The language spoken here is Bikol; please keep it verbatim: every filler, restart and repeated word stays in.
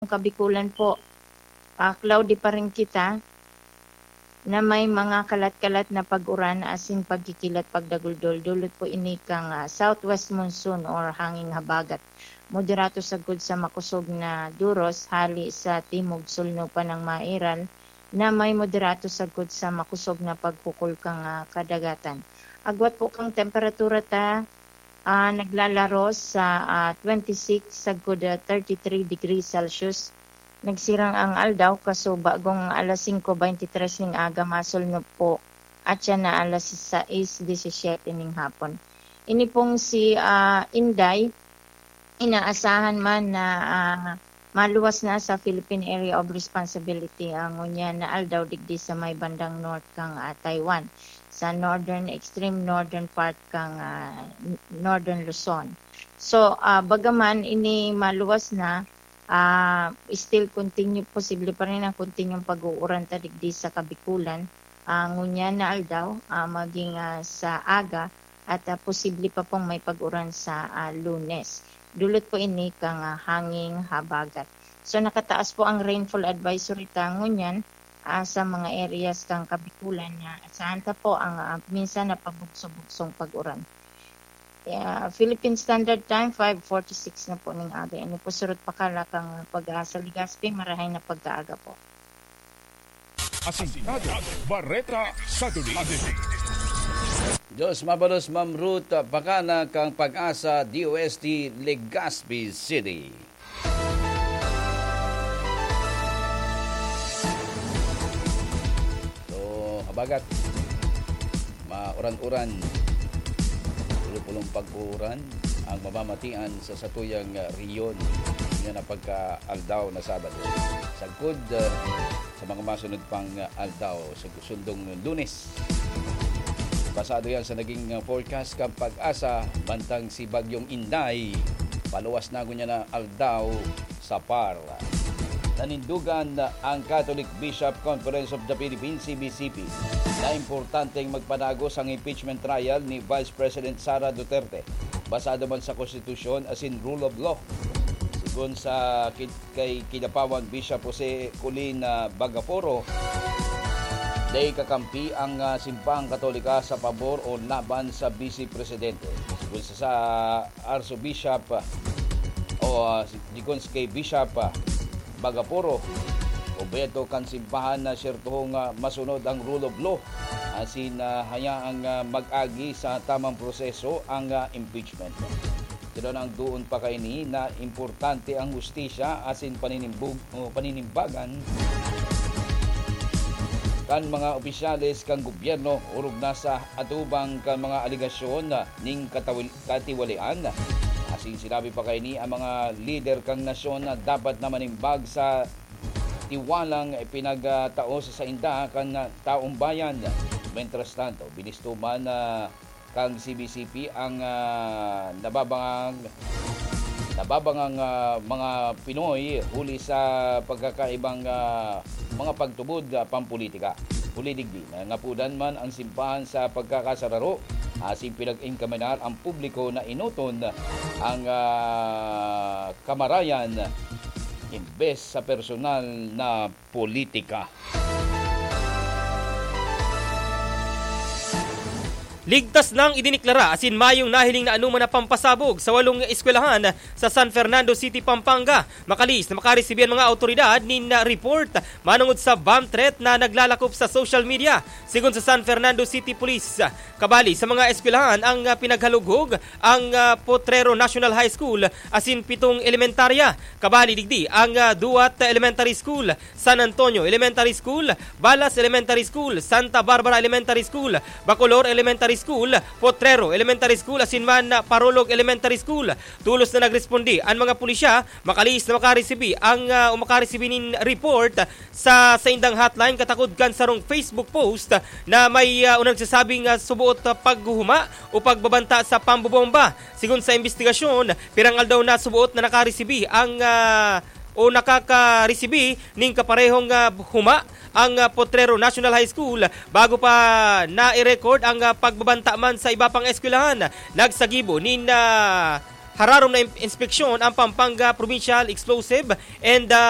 Kabikulan po, ah, cloudy pa rin kita na may mga kalat-kalat na pag-uran asin pagkikilat pagdaguldol. Dulot po ini kan, ah, southwest monsoon or hanging habagat. Moderato sagkod sa makosog na duros hali sa timog sulno pa ng mairal na may moderato sagkod sa makosog na paghukol kan, ah, kadagatan. Agwat po kan temperatura ta, ah, naglalaro sa, ah, twenty-six sagkod, ah, thirty-three degrees Celsius. Nagsirang ang aldaw, kaso bagong alas singko beintitres ning aga, masulnop po, at siya na alas sais disisiyete ning hapon. Ini pong si, ah, Inday, inaasahan man na, ah, maluwas na sa Philippine Area of Responsibility ang ngunyan na aldaw digdi sa may bandang north kang, ah, Taiwan, sa northern, extreme northern part kang, ah, n-, northern Luzon. So, ah, bagaman ini maluwas na, ah, still continue, posible pa rin ang continuong pag-uuran ta digdi sa Kabikulan, ah, ngunyan na aldaw, ah, maging, ah, sa aga at, ah, posible pa pong may pag-uran sa, ah, Lunes. Dulot po ini kang, ah, hanging habagat. So, nakataas po ang rainfall advisory ta ngunyan, ah, sa mga areas kang Kabikulan na asahan ta po ang, ah, minsan na pabugso-bugsong pag-uran. Yeah, Philippine Standard Time, five forty-six na po ning aga. Ini po surot pakala kang Pag-asa Legazpi, marahay na pagkaaga po. Asintado, Bareta sa Dulig. Diyos mabalos, Ma'am Ruth, pakana kang Pag-asa, D O S T, Legazpi City. So, habagat, mauran-uran, pulong-pulong pag-uuran ang mamamatian sa satuyang, ah, rehiyon. Yan ang pagka-aldaw na Sabado. Sagkod, ah, sa mga masunod pang, ah, aldaw, sa sundong Lunes. Basado yan sa naging, ah, forecast kan Pag-asa, mantang si Bagyong Inday, paluwas na ngunyan na aldaw sa PAR. Nanindugan ang Catholic Bishop Conference of the Philippines, C B C P, na importanteng magpanagos ang impeachment trial ni Vice President Sara Duterte, basado man sa konstitusyon asin rule of law. Sigon sa kin-, kay Kidapawan Bishop Jose Colin, ah, Bagaporo, dai kakampi ang, ah, Simbahang Katolika sa pabor o laban sa Vice Presidente. Sigon sa, sa Archbishop, ah, o, ah, si, sigon kay Bishop, ah, Bagaporo, obheto kan simbahan na siyertohong, ah, masunod ang rule of law, asin, ah, hayaang, ah, mag-agi sa tamang proseso ang, ah, impeachment. Pero nagduon pa kaini na importante ang hustisya asin paninimbug-, o paninimbagan kan mga opisyales kan gobyerno, orog na sa atubang kan mga alegasyon ning katawil-, katiwalian. Asin sinabi pa kaini ang mga lider kan nasyon na dapat na manimbag sa tiwalang ipinagtao sa sainda kan taong bayan. Mientras tanto, binisto man, ah, kan C B C P ang, ah, nababangang, nababangang, ah, mga Pinoy huli sa pagkakaibang, ah, mga pagtubod, ah, pampolitika. Huli digdi, nangapudan man ang simbahan sa pagkakasararo, asin pinag-enkaminar ang publiko na enoton ang, ah, kamarayan imbes sa personal na politika. Ligtas nang idineklara asin mayong nahiling na anoman na pampasabog sa walong eskwelahan sa San Fernando City, Pampanga. Makalihis na makaresibi an mga awtoridad nin, ah, report manongod sa bomb threat na naglalakop sa social media. Sigon sa San Fernando City Police, kabali sa mga eskwelahan ang, ah, pinaghalughog ang, ah, Potrero National High School asin pitong elementarya. Kabali digdi ang, ah, Duat Elementary School, San Antonio Elementary School, Balas Elementary School, Santa Barbara Elementary School, Bacolor Elementary School, Potrero Elementary School, asin man, ah, Parolog Elementary School. Tulos na nagresponde an mga pulisya, makalihis na makaresibi ang, ah, o makaresibi nin report sa saindang hotline katakod kan sarong Facebook post na may, ah, o nagsasabing, ah, suboot, ah, paghuhuma o pagbabanta sa pambobomba. Sigon sa imbestigasyon, pirang aldaw na suboot na nakaresibi ang, ah, o nakakaresibi ning kaparehong, ah, huma ang, ah, Potrero National High School bago pa nai-record ang, ah, pagbabanta man sa iba pang eskwelahan. Nagsagibo nin, ah, hararom na im-, inspeksyon ang Pampanga Provincial Explosive and, ah,